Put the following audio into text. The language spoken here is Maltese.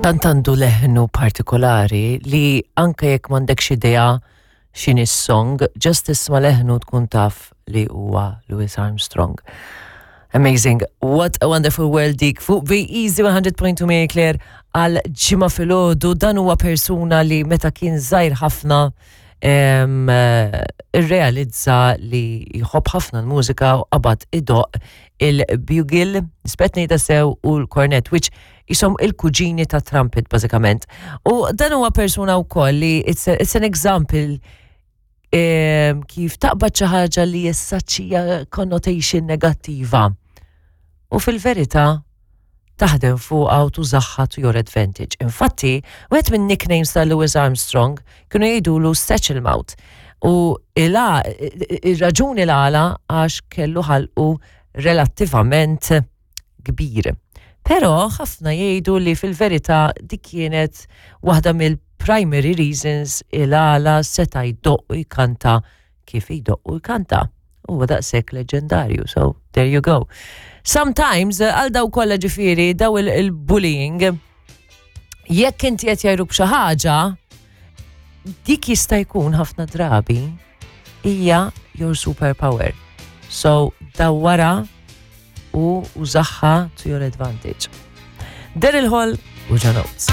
Tant għandu leħnu partikolari li anke jekk m'għandekx idea x'inhi s-song, just tisma' leħnu tkun taf li huwa Louis Armstrong. Amazing. What a wonderful world dik fuq Be Easy 100.2 Mary Claire għal ġimgħa filgħodu dan huwa persuna li meta kien żgħir ħafna irrealizza li jħobb ħafna l-mużika u qabad idoq il-bugle, nispet ngħidha sew u l-kornet, which jisom il-kuġini ta' trumpet bażikament. U dan huwa persuna wkoll li it's, a, it's an example kif taqbad xi ħaġa li jessaċċija connotation negattiva. U fil-verità taħdem fuqha u tużaħħa to your advantage. Infatti, wieħed minn nicknames ta' Louis Armstrong kienu jgħidulu Satchel Mouth. U ir-raġuni l-għala għax kellu ħalqu relattivament kbir. Però ħafna jgħidu li fil-verità dik kienet waħda mill-primary reasons il-għala seta' jdoqq u jkanta kif jdoqq u jkanta. Huwa daqshekk leġendarju, so there you go. Sometimes, għal daw kollha ġifieri, daw il-bullying, jekk inti qed jgħidu b'xi ħaġa, dik jista' jkun ħafna drabi hija your superpower. So dawwara u użaħħa to your advantage. Daryl Hall u John Oates.